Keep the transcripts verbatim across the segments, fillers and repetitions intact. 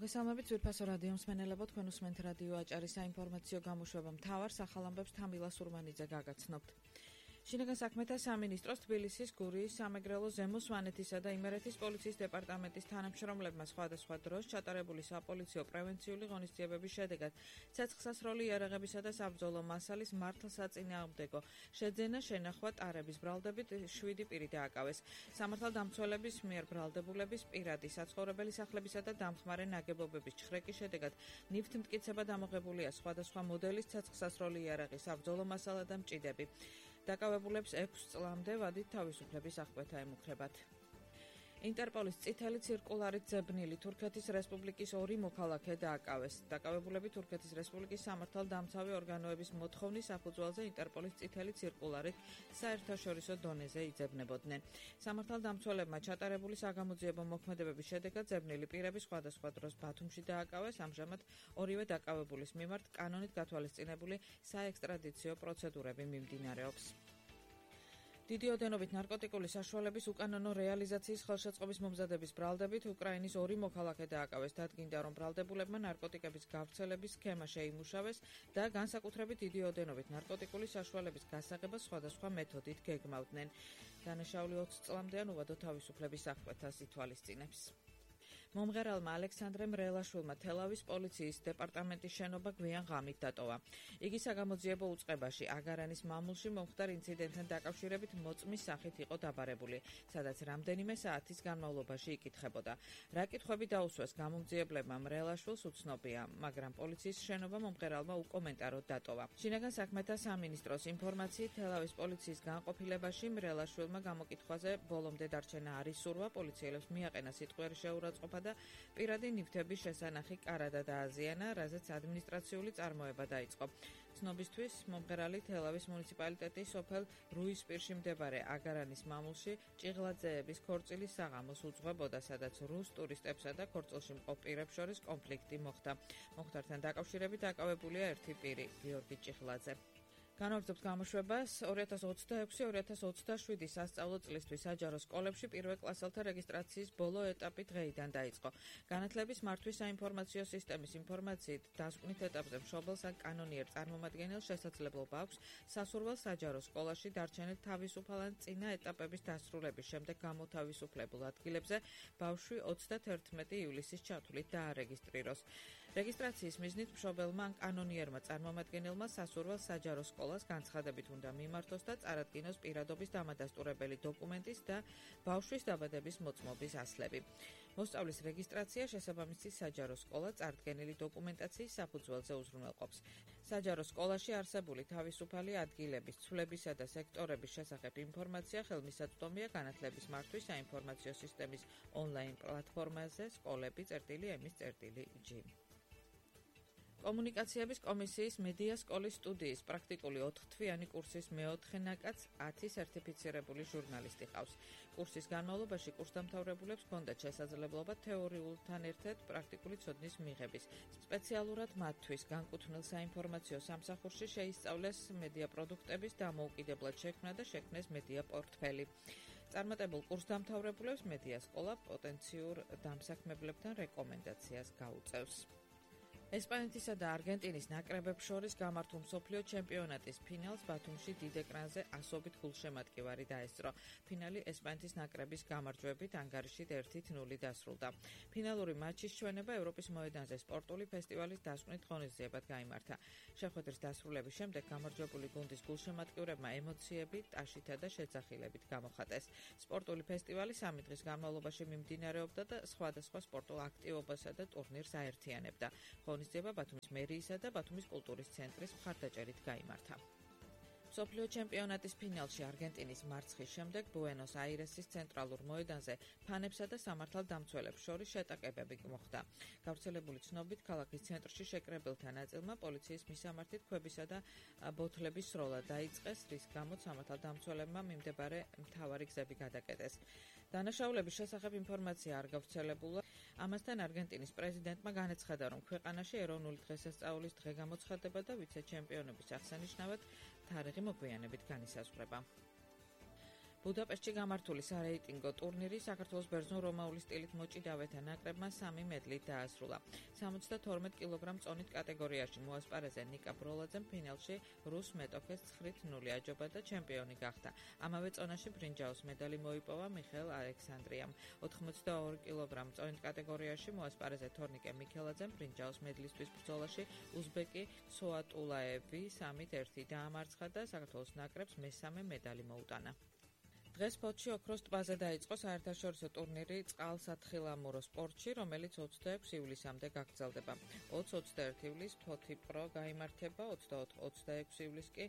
მოგესალმებით ძვირფასო რადიო მსმენელებო, თქვენ უსმენთ რადიო აჭარის საინფორმაციო გამოშვება მთავარ სახალამბებს თამბილა სურმანიძე გაგაცნობთ. შინაგან საქმეთა სამინისტროს თბილისის, გურიის, სამეგრელო, ზემო სვანეთისა და იმერეთის პოლიციის დეპარტამენტის თანამშრომლებმა სხვადასხვა დროს ჩატარებული საპოლიციო პრევენციული ღონისძიებების შედეგად ცეცხლსასროლი იარაღებისა და საბრძოლო მასალის მართლსაწინააღმდეგო შეძენა, შენახვა, ტარების ბრალდებით შვიდი პირი დააკავეს. სამართალდამცველების მიერ ბრალდებულების პირადი საცხოვრებელი სახლებისა და დამხმარე ნაგებობების ჩხრეკის შედეგად ნივთმტკიცება დამოღებულია სხვადასხვა მოდელის ცეცხლსასროლი იარაღი, საბრძოლო მასალა და მჭიდები. დაკავებულებს ექვს წლამდე ვადით თავისუფლების აღკვეთა ემუქრებათ. ინტერპოლის წითელი ცირკულარით ძებნილი თურქეთის რესპუბლიკის ორი მოქალაქე დააკავეს. დაკავებულები თურქეთის რესპუბლიკის სამართალდამცავი ორგანოების მოთხოვნის საფუძველზე ინტერპოლის წითელი ცირკულარით საერთაშორისო დონეზე იძებნებოდნენ. სამართალდამცველებმა ჩატარებული საგამოძიებო მოქმედებების შედეგად ძებნილი პირები სხვადასხვა დროს ბათუმში დააკავეს. ამჟამად ორივე დაკავებულის მიმართ კანონით გათვალისწინებული საექსტრადიციო პროცედურები მიმდინარეობს. დიდი ოდენობით ნარკოტიკული საშუალების უკანონო რეალიზაციის ხელშეწყობის მომზადების ბრალდებით უკრაინის ორი მოქალაქე დააკავეს. დადგინდა, რომ ბრალდებულებმა ნარკოტიკების გავრცელების სქემა შეიმუშავეს და განსაკუთრებით დიდი ოდენობით ნარკოტიკული საშუალების გასაღებას სხვადასხვა მეთოდით გეგმავდნენ. დანაშაული ოცი წლამდე უვადო თავისუფლების აღკვეთას ითვალისწინებს. მომღერალმა ალექსანდრე მრელაშვილმა თელავის პოლიციის დეპარტამენტის შენობა გვიან ღამით დატოვა. იგი საგამოძიებო უწყებაში აგარანის მამულში მომხდარ ინციდენტთან დაკავშირებით მოწმის სახით იყო დაბარებული, სადაც რამდენიმე საათის განმავლობაში იკითხებოდა. რა კითხვები დაუსვეს გამომძიებლებმა მრელაშვილს უცნობია, მაგრამ პოლიციის შენობა მომღერალმა უკომენტაროდ დატოვა. შინაგან საქმეთა სამინისტროს ინფორმაციით თელავის პოლიციის განყოფილებაში მრელაშვილმა გამოკითხვაზე ბოლომდე დარჩენა არ ისურვა, პოლიციელებს მიაყენა სიტყვიერი შეურაცხყოფა და პირადი ნივთების შესანახი კარადა დააზიანა, რაზეც ადმინისტრაციული წარმოება დაიწყო. ცნობისთვის, მომღერალი თელავის მუნიციპალიტეტის სოფელ რუისპირში მდებარე აგარანის მამულში ჭიღლაძეების ქორწილის საღამოს უძღვებოდა, სადაც რუს ტურისტებსა და ქორწილში მყოფ პირებს შორის კონფლიქტი მოხდა. მომხდართან დაკავშირებით დაკავებულია ერთი პირი, გიორგი ჭიღლაძე. განვაგრძობთ გამოშვებას. ორი ათას ოცდაექვსი ორი ათას ოცდაშვიდი სასწავლო წლისთვის საჯარო სკოლებში პირველ კლასელთა რეგისტრაციის ბოლო ეტაპი დღეიდან დაიწყო. განათლების მართვის საინფორმაციო სისტემის ინფორმაციით, დასკვნით ეტაპზე მშობელს ან კანონიერ წარმომადგენელს შესაძლებლობა აქვს სასურველ საჯარო სკოლაში დარჩენილ თავისუფალ ან წინა ეტაპების დასრულების შემდეგ გამოთავისუფლებულ ადგილებზე ბავშვი ოცდათერთმეტი ივლისის ჩათვლით დაარეგისტრიროს. რეგისტრაციის მიზნით მშობელმა ან კანონიერმა წარმომადგენელმა სასურველ საჯარო სკოლას განცხადებით უნდა მიმართოს და წარადგინოს პირადობის დამადასტურებელი დოკუმენტის და ბავშვის დაბადების მოწმობის ასლები. მოსწავლის რეგისტრაცია შესაბამისი საჯარო სკოლა წარდგენილი დოკუმენტაციის საფუძველზე უზრუნველყოფს. საჯარო სკოლაში არსებული თავისუფალი ადგილების, ცვლებისა და სექტორების შესახებ ინფორმაცია ხელმისაწვდომია განათლების მართვის საინფორმაციო სისტემის ონლაინ პლატფორმაზე სკოლები წერტილი.ემის.ჟი. კომუნიკაციების კომისიის მედია სკოლის სტუდიის პრაქტიკული ოთხთვიანი კურსის მეოთხე ნაკადს ათი სერტიფიცირებული ჟურნალისტი ყავს. კურსის განმავლობაში კურსდამთავრებულებს ჰქონდათ შესაძლებლობა თეორიულთან ერთად პრაქტიკული ცოდნის მიღების. სპეციალურად მათთვის განკუთვნილ საინფორმაციო სამსახურში შეისწავლეს მედია პროდუქტების დამოუკიდებლად შექმნა და შექმნეს მედია პორტფელი. წარმატებულ კურსდამთავრებულებს მედია სკოლა პოტენციურ დამსაქმებლებთან რეკომენდაციას გაუწევს. ესპანეთისა და არგენტინის ნაკრებებს შორის გამართულ მსოფლიო ჩემპიონატის ფინალს ბათუმში დიდ ეკრანზე ასობით გულშემატკივარი დაესწრო. ფინალი ესპანეთის ნაკრების გამარჯვებით ანგარიშით ერთი ნული დასრულდა. ფინალური მაჩის ჩვენება ევროპის მოედანზე სპორტული ფესტივალის დასკვნით ღონისძიებად გაიმართა. შეხვედრის დასრულების შემდეგ გამარჯვებული გუნდის გულშემატკივრებმა ემოციები ტაშითა და შეძახილებით გამოხატეს. სპორტული ფესტივალი სამი დღის განმავლობაში მიმდინარეობდა და სხვადასხვა სპორტულ აქტივობასა და ტურნირს აერთიანებდა. ღონისძიება ბათუმის მერიისა და ბათუმის კულტურის ცენტრის მხარდაჭერით გაიმართა. მსოფლიო ჩემპიონატის ფინალში არგენტინის მარცხის შემდეგ ბუენოს აირესის ცენტრალურ მოედანზე ფანებსა და სამართალდამცველებს შორის შეტაკებები მოხდა. გავრცელებული ცნობით, ქალაქის ცენტრში შეკრებილთა ნაწილმა პოლიციის მისამართით ქვებისა და ბოთლების სროლა დაიწყეს, რის გამოც სამართალდამცველებმა მიმდებარე მთავარი გზები გადაკეტეს. დანაშაულების შესახებ ინფორმაცია არ გავრცელებულა. ამასთან არგენტინის პრეზიდენტმა განაცხადა, რომ ქვეყანაში ეროვნული დღესასწაულის დღე გამოცხადდება და ვიცე-ჩემპიონების აღსანიშნავად თარიღი მოგვიანებით განისაზღვრება. ბუდაპეშტში გამართული სარეიტინგო ტურნირი საქართველოს ბერძნულ-რომაული სტილით მოჭიდავეთა ნაკრებმა სამი მედლით დაასრულა. სამოცდათორმეტ კილოგრამ წონით კატეგორიაში მოასპარეზე ნიკა ბროლაძემ ფინალში რუს მეტოქეს ცხრით ნული აჯობა და ჩემპიონი გახდა. ამავე წონაში ბრინჯაოს медали მოიპოვა მიხეილ ალექსანდრიამ. ოთხმოცდაორი კილოგრამ წონით კატეგორიაში მოასპარეზე თორნიკე მიქელაძემ ბრინჯაოს მედლისთვის ბრძოლაში უზბეკი სოატულაევი სამით ერთი დაამარცხა და საქართველოს ნაკრებს მესამე медали მოუტანა. დღეს ფოთში ოქროს ტბაზე დაიწყო საერთაშორისო ტურნირი წყალსათხილამურო სპორტში, რომელიც ოცდაექვსი ივლისამდე გაგრძელდება. ოცი ოცდაერთი ივლისს ფოთი პრო გაიმართება, ოცდაოთხ ოცდაექვსი ივლისს კი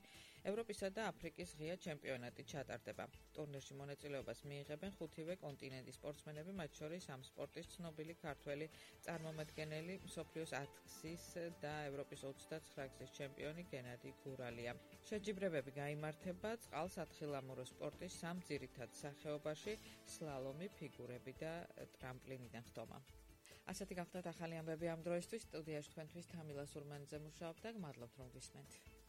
ევროპისა და აფრიკის ღია ჩემპიონატი ჩატარდება. ტურნირში მონაწილეობას მიიღებენ ხუთივე კონტინენტის სპორტსმენები, მათ შორის ამ სპორტის ცნობილი ქართველი წარმომადგენელი, მსოფლიოს ათგზის და ევროპის ოცდაცხრაგზის ჩემპიონი გენადი გურალია. შეჯიბრებები გაიმართება წყალსათხილამურო სპორტის სამ ძირითად სახეობაში: სლალომი, ფიგურები და ტრამპლინიდან ხტომა. ასეთი გახდათ ახალი ამბები ამ დროისთვის. სტუდიაში თქვენთვის თამილა სურმანიძე მუშაობდა. გმადლობთ რომ გვისმენთ.